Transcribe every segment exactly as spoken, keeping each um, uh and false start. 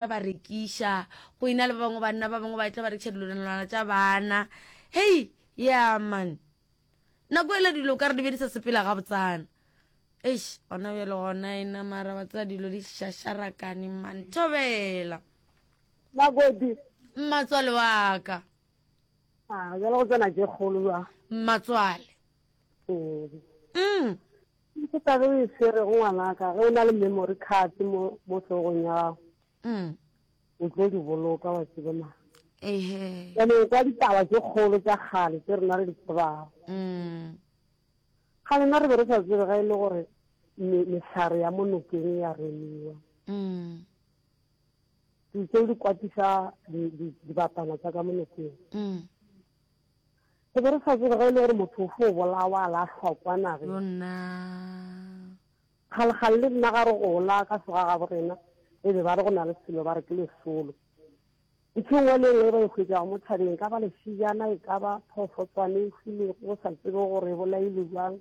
Ba rekiša, go ena le ba bangwe banna ba bangwe ba etla ba rekiša dilwanalwana tša bana. Hei, yeah man. Nako ele dilo ka re di be di sa sepela gabotsana. Eish, gona bjale gona ena mara ba tseba dilo di šašarakane man. Thobela. Makoti. Mmatswale wa ka. Ah, bjale go tsena tše kgolo jwang? Mmatswale. Ee. Mm. Ke taba e swerego ngwanaka ge o na le memory card mo mo hlogong ya gago. Mm. O tlo di boloka wa tseba ma. Ehe. Bjale kwa ditaba tše kgolo tša kgale tše rena re di tsebago. Mm. Kgale nna re be re sa tsebe ga e le gore mehlare ya mo nokeng ya remiwa. Mm. Dilo tseo di kwatisa dibatana tša ka mo nokeng. Mm. Re be re sa tsebe ga e le gore motho o fo bolawa a lahlwa kwa nageng. Yona. Kgalekgale le rena ga re gola ka sega gabo rena e be ba re go na le selo ba re ke lesolo. Ntho e nngwe le e nngwe e ba e hwetšago mo thabeng, e ka ba lešijana, e ka ba phoofotswane e hwilego go sa tsebe gore e bolailwe bjang,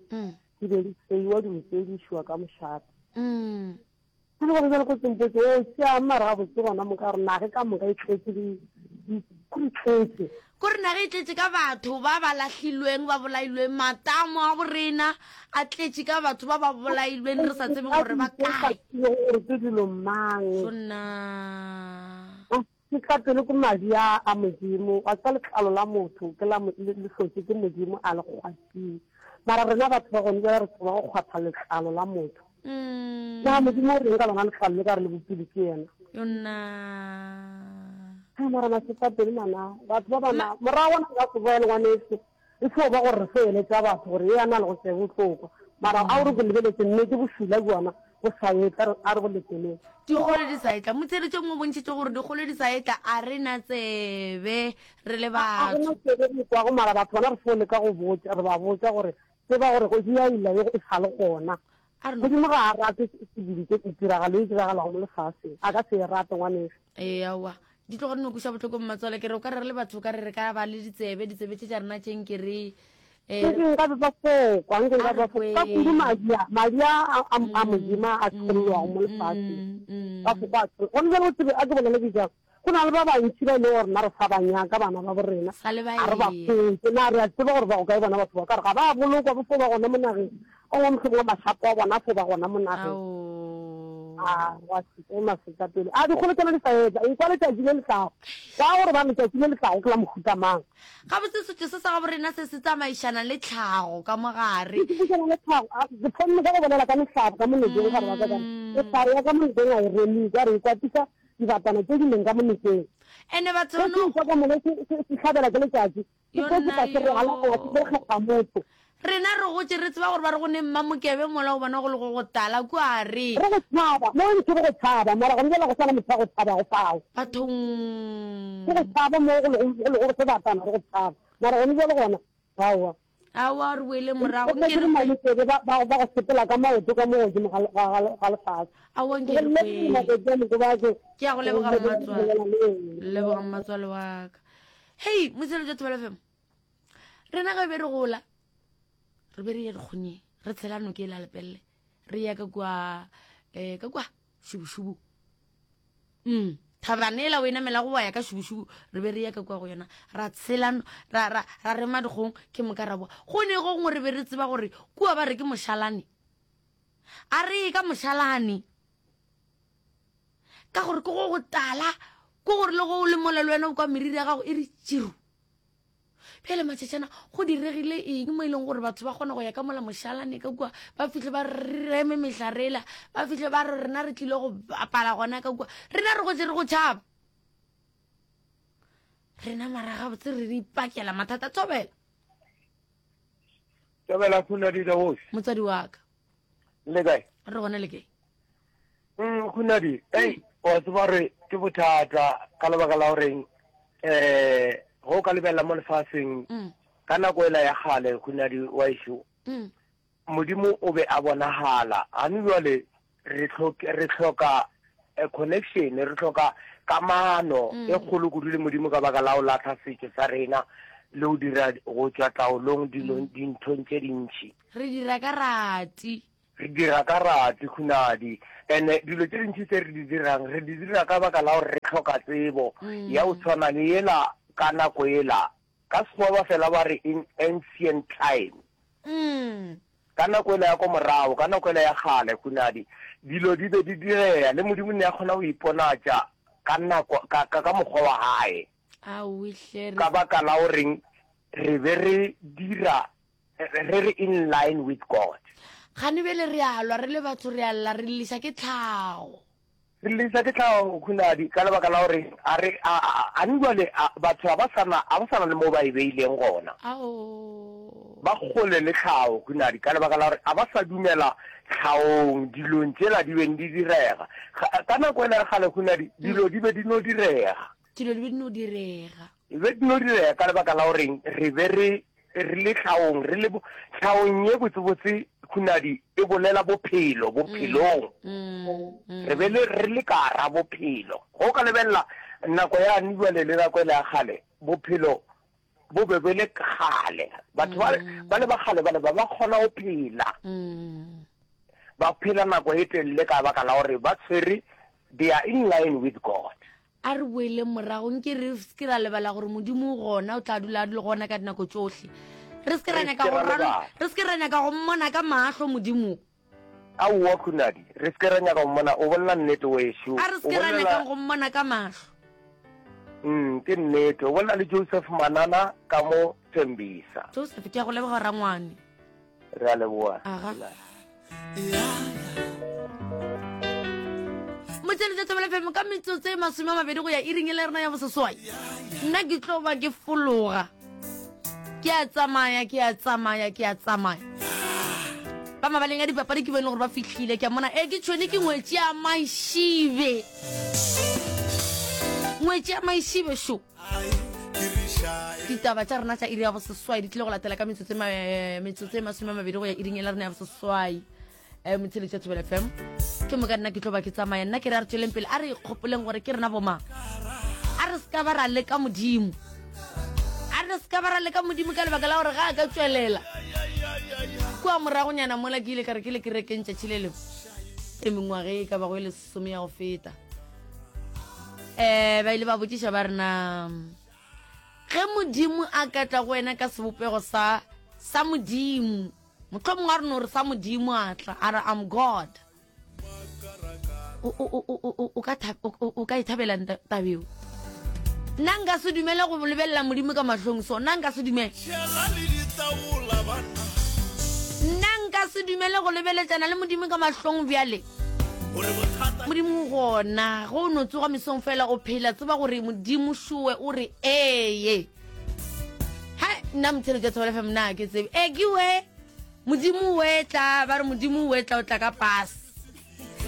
di be di tseiwa dilo tše di išiwa ka mošate. Ke le gore bjale ko tsempotse o tšea mara gabotse gona moka gore nage ka moka e tletše di di tletše. Kore naga e tletše ka batho ba ba lahlilweng, ba bolailweng, matamo a borena a tletše ka batho ba ba bolailweng re sa tsebeng gore ba kae. Gore ke dilo mang. Sonna. Ke tla pele ke madi a a Modimo, wa tseba letlalo la motho ke la le le hlotše ke Modimo a le kgwathile. Mara rena batho ba gone bjale re tseba go kgwatha letlalo la motho. Na Modimo o reng ka lona letlalo le ka re le bopilwe ke yena? Yonna. Ha mara masetlapelo mana batho ba bana morago gona nka se boele ngwaneso e fo ba gore re fo eletša batho gore ye a na le go se bohlokwa mara a o re go lebeletse nnete bošula bjona bo sa etla a re go leteleng. Dikgolo di sa etla. Motheeletši o mongwe o bontšhitše gore dikgolo di sa etla a re na tsebe re le A re batho. na tsebe re kwago mara batho bona re fo leka go botša re ba botša gore tseba gore go di a ila ye e sa le gona. A re no. Modimo ga a rate dilo tše tiragalo e diragalago mo lefaseng a ka se e rate ngwaneso. Ee aowa di tloga di no kweša bohloko mmatswale ke re o ka re re le batho o ka re re ka ba le ditsebe ditsebe tše tša rena tše nke re eh, Nke nka be ba fo kwa, nke a nka re ba fo ka kudu kweng. madi a madi a a a a Modimo a tšhollwago mo Mm, lefaseng mm, ba mm. fo kwa tšholla. Gone bjale o tsebe a ke bolele ke jang, go na le ba bantši ba e lego gore rena re sa ba nyaka bana ba bo rena, Sa le ba ga re ba ea. hwetše. Na re a tseba gore ba go kae bona batho ba ka re ga ba bolokwa ba fo ba gona mo nageng, o ngwe mohlomongwe mašapo a bona a fo ba gona mo nageng. Ao. A wa se ke masetlapelo. A dikgolo tšona di sa etla, ekwa letšatši le le tlago. Kwa gore ba letšatši le le tlago ke la mohuta mang. Gabotse setšo se sa gaborena se se tsamaišana le tlhago ka mo gare. Se tsamaišana le tlhago. A, ke thomile ka go bolela ka mehlare ka mo nokeng gare wa ka ka re, mehlare ya ka mo nokeng ga e remiwe, ka re e kwatisa dibatana tše di leng ka mo nokeng. Ene batho Ge se no. ekwa ka mola se, se, se hlabela ke letšatši, se tlo Yonna tloga se rwala goba se tlo yo. kgetha motho. Rena re gotše re tseba gore ba re go ne Mmamokebe mola o bona go le go go tala kua re. Re go tšhaba, mo ntši re go tšhaba, mara gona bjale go sa na motho wa go tšhabago fao. Bathong. Re go tšhaba mo go lego, go lego sebatana re go tšhaba, mara gona bjale gona, aowa. Aowa re boele morago, Go nke tletse re kwe. Mmamokebe ba, ba, ba go sepela ka maoto ka mo godimo ga, ga, ga, ga lefase. Aowa Ke nke re go kwe. Makoti a Mokobatse, Ke a go go leboga bolela mmatswale. le wena. Leboga mmatswale wa ka. Hei, motsheletšo Thobela F M. Rena ge be re gola, re be re ya dikgonyeng, re tshela noke e la Lepelle, re ya ka kua um ka kua šubušubu. Mm, thabana ela o e namelago wa ya ka šubušubu, re be re ya ka kua go yona, ra tshela no-, ra, ra, ra rema dikgong, ke moka ra boa. Go ne go gongwe re be re tseba gore kua ba re ke mošalane. A re ye ka mošalane, ka gore ke go go tala, ke gore le go o le mola le wena o kwa meriri ya gago e re tširu. Bjale matšatšana go diregile eng mo e leng gore batho ba kgona go ya ka mola mošalane ka kua, ba fihle ba reme mehlarela, ba fihle ba re rena re tlile go bapala gona ka kua, rena re gotše re go tšhaba. Rena mara gabotse re re ipakela mathata. Thobela. Thobela Khunadi the host. Motswadi wa ka. Le kae? Re gona le kae? Mm, Khunadi, ei, wa tseba gore ke bothata ka lebaka la goreng eh go ka lebelela mo lefaseng Mm. ka nako ela ya kgale Khunadi wa ešo Mm. Modimo o be a bonagala gane jwale re hloke re hloka a connection re hloka kamano Mm. e kgolo kudu le Modimo ka baka la go lahla setšo sa rena le go dira go tšwa taolong dilong Mm. dinthong tše dintši Re dira ka rati. Re dira ka rate, Khunadi. Ene dilo tše dintši tse re di dirang, re di dira ka baka la gore re hloka tsebo ya go tshwana le yela ka nako yela. Ka Sekgowa ba fela ba re in ancient time. Ka nako yela ya ko morago, ka nako yela ya kgale, Khunadi, dilo di be di direga, le Modimo ne a kgona go iponatša ka nako, ka, ka, ka mokgwa wa Hae. Aowi hle, re. Ka baka la goreng re be re dira, re re in line with God. Kgane bjale re a lwa, re le batho re a lla, re lliša ke tlhago. Re lliša ke tlhago, Khunadi, ka lebaka la gore a re, a, a, a ne bjale a, batho ga ba sa na, ga ba sa na le mo ba e beileng gona. Ao. Ba kgole le tlhago, Khunadi, ka lebaka la gore ga ba sa dumela tlhagong, dilong tšela di beng di direga. Ga, ka nako ela ya kgale, Khunadi, dilo di be di no direga. Dilo di be di no direga. Di be di no direga ka lebaka la goreng re be re Re le tlhaong, re le bo, tlhaong ye botsebotse, Khunadi, e bolela bophelo, bophelong. Re be le, re le ka ra bophelo. Ge o ka lebelela nako yane bjale le nako yela ya kgale, bophelo bo be bo le kgale. Batho ba, ba le ba kgale bale ba ba kgona go phela. Ba phela nako e telele ka baka la gore ba tshwere, they are in line with God. A re boeleng morago, nke re se ke ra lebala gore Modimo o gona, o tla dula a le gona ka dinako tšohle. Re se ke ra nyaka go ra, re se ke ra nyaka go mmona ka mahlo Modimo. Aowa, Khunadi, re se ke ra nyaka go mmona, o bolela nnete wešo. A re se ke ra nyakang go mmona ka mahlo. Mm, ke nnete. O bolela le Joseph Manana ka mo Tembisa. Joseph, ke a go leboga rangwane. Re a leboga. Aga. Motšheletša Thobela F M ka metsotso e masome a mabedi go ya iring e le rena ya boseswai. Nna ke tlo ba ke fologa. Ke a tsamaya, ke a tsamaya, ke a tsamaya. Ba mabaleng a dipapadi ke bone gore ba fihlile. Ke a mona, e ke tšhone ke ngwetši ya Maišibe. Ngwetši ya Maišibe šo. Ditaba tša rena tša iri ya boseswai di tlile go latela ka metsotso e metsotso e masome a mabedi go ya iring e la rena ya boseswai. Eh, motsheletši wa Thobela F M. Ke moka nna ke tlo ba ke tsamaya. Nna ke re a re tšweleng pele, a re ikgopoleng gore ke rena bomang. A re se ka ba ra leka Modimo. A re se ka ba ra leka Modimo ka lebaka la gore ga a ka tšwelela. Kua moragonyana mola ke ile ka re ke le kerekeng tšatši le lengwe. E mengwaga e ka bago e lesome ya go feta. Eh, ba ile ba botšiša ba re na ge Modimo a ka tla go wena ka sebopego sa, sa Modimo, mohlomongwe a re no re sa Modimo a tla, a re I'm God. O, o, o, o, o, o ka tha-, o, o, o ka e thabela nta-, tabeo? Nna nka se dumele go lebelela Modimo ka mahlong so, nna nka se dumele. Nna nka se dumele go lebeletšana le Modimo ka mahlong bjale. Modimo gona, go no tsoga mesong fela o phela, tseba gore Modimo šowe o re eye. Ha nna motheletši wa Thobela F M nna ke tsebe. E ke we Modimo we tla, ba re Modimo we tla o tla ka pass.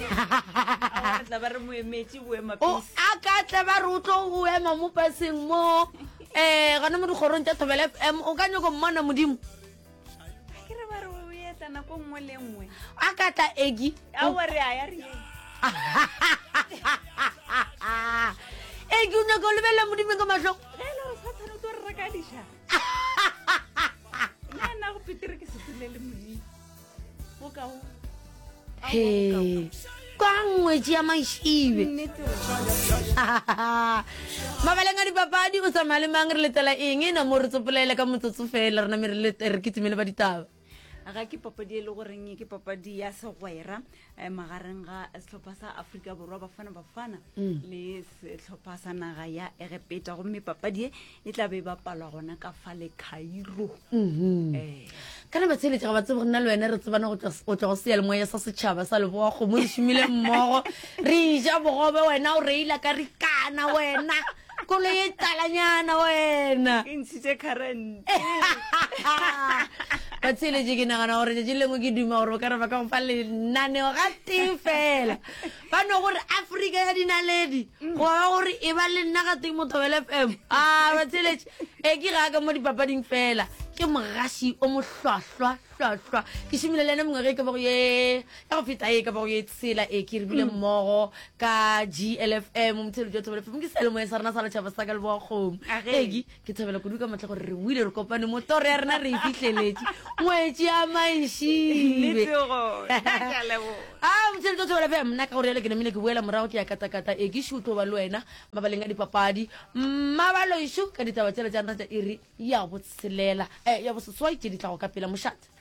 A tla ba re mo emetše boema O, pese. a ka tla ba re o tlo o ema mo paseng mo, eh, gona mo dikgorong tša Thobela F M, o ka nyako mmona Modimo. Ke re ba re o etla nako nngwe le nngwe. A ka tla Egi. Aowa, re a ya re ye. Egi, o nyaka go lebelela Modimo ka mahlong? Ge e le gore Sathane o tlo re reka diša. Nna nna go Petere ke se tsele le Modimo. Go ka o. He. Kwa ngwetši ya Maišibe. Nnete. Mabaleng a dipapadi o tsamaya le mang, re letela eng? E na mo re tsopolele ka motsotso fela, rena me re lete, re kitimele ba ditaba. Ga ke papadi e le goreng ke papadi ya segwera, eh, magareng ga sehlopha sa Afrika Borwa Bafana Bafana Mm. le sehlopha sa naga ya Egepeta, gomme papadi e e tla be e bapalwa gona ka fa le Cairo. Mm-hmm. Eh. Kana ba tsheletše ga ba tsebe gore nna le wena re tsebana go tšwa, go tšwa go seyalemoya sa setšhaba sa Leboa Kgomo, re šomile mmogo, re ja bogobe, wena o reila ka rikana, wena koloi e talanyana wena. Ke ntšhitše current. Ba tsheletše ke nagana gore tšatši lengwe ke duma gore o ka re ba ka go fa lenaneo ga tee fela. Ba no gore Afrika ya dinaledi, go ba gore e ba le nna ga teng mo Thobela F M. Ah, ba tsheletše. E ke ga ka mo dipapading fela. Ke Ke mogaši o mohlwahlwa hlwahlwa. Ke šomile le yena mengwaga e ka bago ye ya go feta e ka bago ye tshela e ke re bile mmogo ka G L F M motheeletši wa Thobela F M ke seyalemoya sa rena sa letšhaba sa ka leboga kgomo. Age. Egi ke thabela kudu ka matla gore re boile re kopane mo toro ya rena re e fihleletše. Ngwetši ya Maišibe. Nnete gona. Ke a leboga. A motheeletši wa Thobela F M nna ka gore yale ke namile ke boela morago ke ya katakata e ke šo tlo ba le wena mabaleng a dipapadi. Mabaloišu ka ditaba tšela tša rena tša iri ya botshelela eh, ya boseswai tše di tlago ka pela mošate.